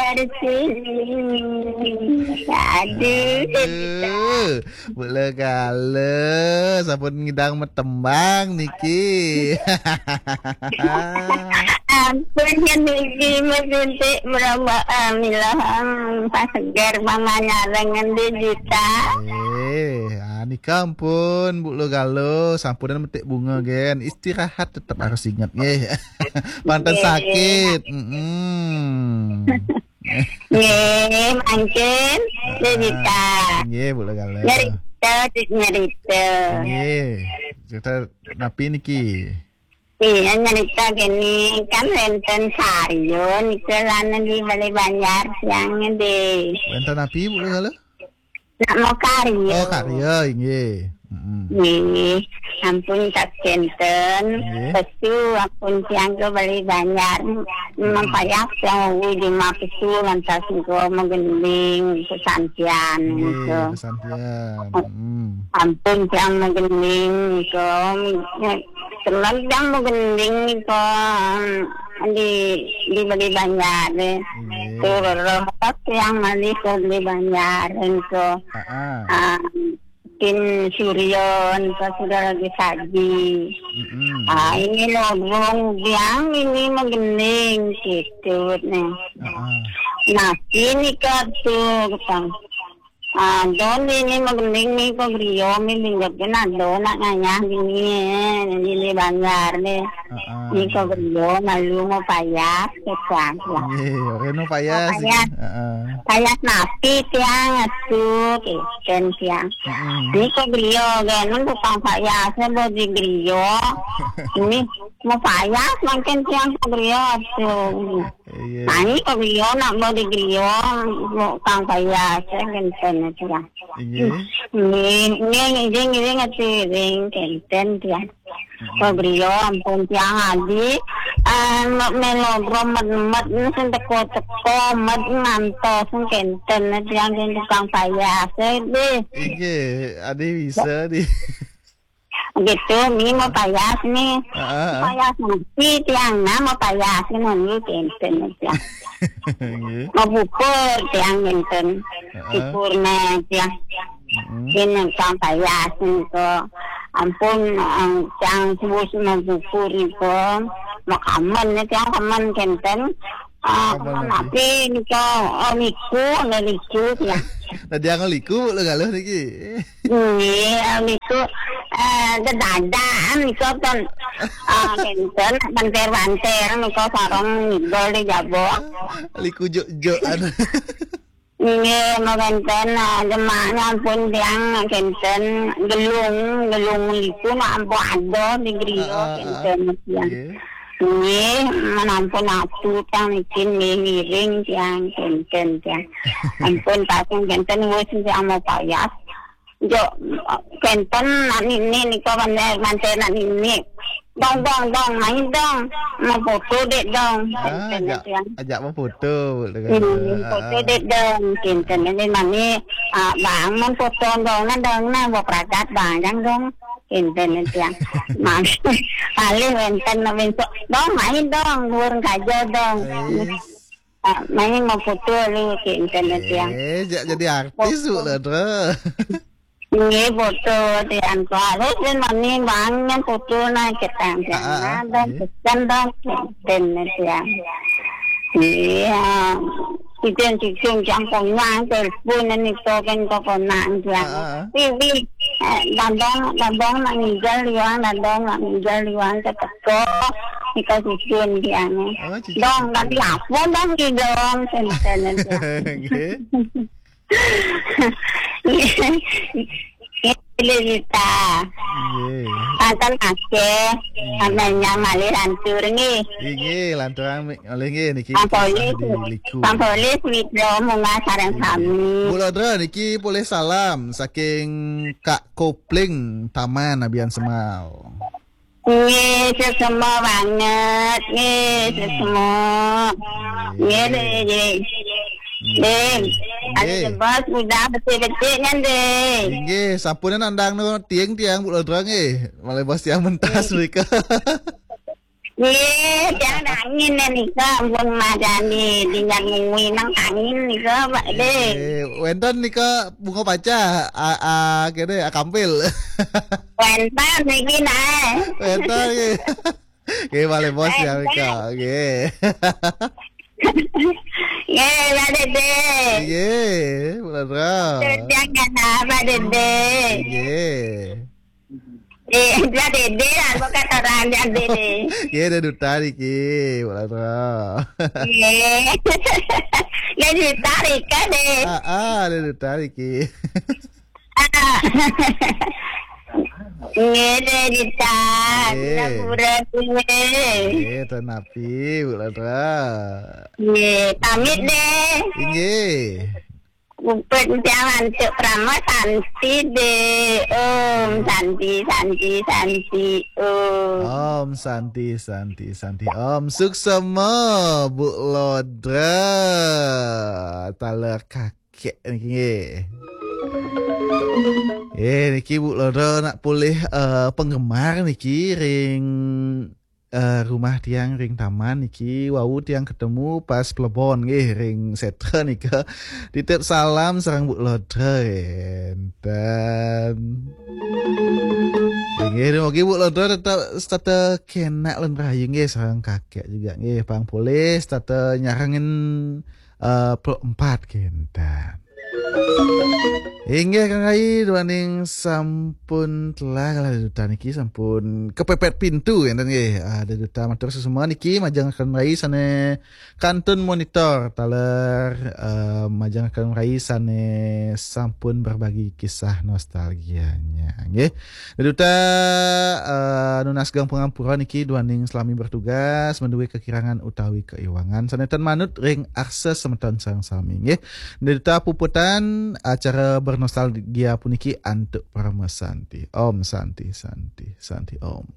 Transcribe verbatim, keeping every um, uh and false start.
Aduh, sini. Aduh. Aduh, Bu Lo Galo, sampun ngidang metembang niki. Ampun, kan niki mesuntik berambaan, milah, hmm, pas seger, mama nyareng ngendi juta. Eh, ah, nika ampun, Bu Lo Galo, sampunan metik bunga gen. Istirahat tetep harus inget, nggih. Panten Nggih. Sakit. Mm-mm. Nggih, mangkin, Dek Dita. Ah, nggih, Bu Lo Galo. Nyerita, Dek, nyerita. Nggih. Cerita napi niki? Iya, nyerita gini, kan wenten Saryo nika lan di Bale Banjar yang di Wenten napi, Bu Lo Galo? Nak mau karya. Oh, karya, inggih. Mm-mm. Nggih, ampun tak kenten. Nggih. Pesu ampun tiang ke Bale Banjar. Memang payah tiang uwi di ma pesu lantas engko menggending sesantian Nggih, gitu. Sesantian. Mm. Ampun tiang menggending engko. Teman tiang menggending engko di, di Bale Banjar. Nggih. Tur roh tiang malih ke Bale Banjar engko. Ah, ah. Ah, Tin Suryo, pas sudah lagi saji. Mm-mm. Ah, ini lobong biang ini menggending gitu nih. Ah, ah. Nah, ini kartu, Bang. Ah, don ini menggending nih kok griyo mi minggat kena do nak ngayah gini, eh, ini Banjar nih. Heeh. Ini kok griyo malu mau payah, kecak lah. Nggih, ora nu payah. Payah. Heeh. Payah napi tiang atuh, kenten tiang. Heeh. Ini kok griyo, kan, tukang payah, saya mau di griyo. Ini mau payah, makin tiang kok griyo atuh. Iya. Nah, ini kok griyo nak mau di griyo, mau tukang payah, saya kenten tiang. Inggih. Nggih, nggih, nggih, nggih, ngerti, nggih, kenten tiang. Mm-mm. Kok griya ampun tiang adi, eh, nok melo gromet-met, sing teko-teko, met ngantos, sing kenten, tiang sing tukang payah, sing di. Inggih, adi bisa di. Gitu, mi mau payah nih. Heeh. Payah nanti tiang, nah, mau payah nih, nanti kenten, tiang. Nggih. Mau bukur, tiang kenten. Heeh. Bukur, nah, tiang. Mm-mm. Yen kang payah nika, ampun, eh, cang suwus mabubur nika, makamen nika, kamen kenten. Ah, kamen kamen napi? Napi nika, oh, liku, ana liku, ya. Tadi yang liku, lho, galuh niki. Nggih, liku, eh, dedadakan nika pun, ah, kenten, banter-banter nika sareng ngidol di jaba. Liku juk-jukan. Nggih, mekaten, ah, jemaah nyampun tiang kenten gelung, gelung liku nak ampun ada di griya. Heeh, heeh. Kenten tiang. Nggih. Nggih, menampun atu tiang niki nggih ngiring tiang kenten tiang. Ampun pasang kenten wis tiang mau payah. Jo, kenten nak nini nika bandar manten nak nini. Dong, dong, dong, main dong. Mau foto dek dong. Ah, kenten ajak, tiang. Ajak mau foto, lho. Hmm, foto dek dong. Kenten ini mani, ah, bang, mau foto dong, nah dong, nah, mau pragat bang, jang dong. Kenten tiang. Mas, paling wenten nak besok. Dong, main dong, burung kajo dong. Ais. Ah, main mau foto lu, kenten tiang. Eh, jak jadi artis, Bu, lho, Dro. Nggih, foto tiang kok. Harus ben mani bang yang foto naik ke tang. Ah, ah, ah, nggih. Pesan dong, kenten tiang. Iya. Kiten cicing jang konyang telepon ni token kok konyang tiang. Ah, ah, ah. Wi, wi, eh, dadong, dadong nak ngijal liwang, dadong nak ngijal liwang keteko. Nika cicing tiang. Oh, cicing. Dong, tapi apa dong di dong, kenten tiang. Nggih. Nggih, Lita. Nggih. Panten nggih. Hmm. Sampeyan malih lantur nggih. Nggih, nggih, lanturang mi-, malih nggih niki. Pang Polis, di Liku. Pang Polis Witro munggah sareng sami. Nggih. Bu Lodra niki polih salam saking Kak Kopling Taman Abian Semal. Nggih, sesama banget. Nggih, hmm, sesama. Nggih. Nggih, Dek, Dek. Nggih. Dek, ada sebab udah betik-betik kan, Dek? Nggih, sampun nandang no tiang-tiang Bu Lodra nggih. Malih bos tiang mentas mereka. Nggih, tiang nangin nika, ampun madani, dinjak ngui nang angin nika, Pak De. Eh, wénten nika bunga paca, a, a, kene, a, kampil. Wénten niki, nah. Wénten nggih. Nggih, malih bos ya nika. Nggih. Nggih, Pak Dede. Nggih, Bu Lodro. Tiang nyana, Pak Dede. Nggih. Eh, Pak Dede lah, bukan orang Pak Dede. Nggih, ada duta niki, Bu Lodro. Nggih. Ada duta niki, deh. Ah, ah, ada duta niki. Ah. Nggih, deh, duta. Nggih. Gapura, nggih. Nggih, ten napi, Bu Lodro. Nggih, pamit, deh. Inggih. Puput tiang antuk parama santi, deh. Om santi, santi, santi, om. Om santi, santi, santi, om. Suksma, Bu Lodro. Taler kakek niki nggih. Eh, niki Bu Lodro nak polih, eh, penggemar niki ring, eh, rumah tiang ring taman niki, wau tiang ketemu pas plebon nggih ring setra nika. Titip salam sareng Bu Lodro enten. Inggih, dumugi Bu Lodro tetep setata kenak lan rahayu nggih, sareng kakek juga nggih, pang polih setata nyarengin, eh, Pro empat kenten. Inggih, Kang Rai, duaning sampun telah kalah duta niki, sampun kepepet pintu enten nggih. Ah, duta matur suksma niki majeng Kang Rai sane kantun monitor taler, eh, majeng Kang Rai sane sampun berbagi kisah nostalgianya nggih. Duta, eh, nunas geng pangampura niki duaning selami bertugas, menduwe kekirangan utawi keiwangan sane ten manut ring arsa semeton sareng sami nggih. Duta puputan acara bernostalgia puniki antuk parama santi. Om santi, santi, santi, om.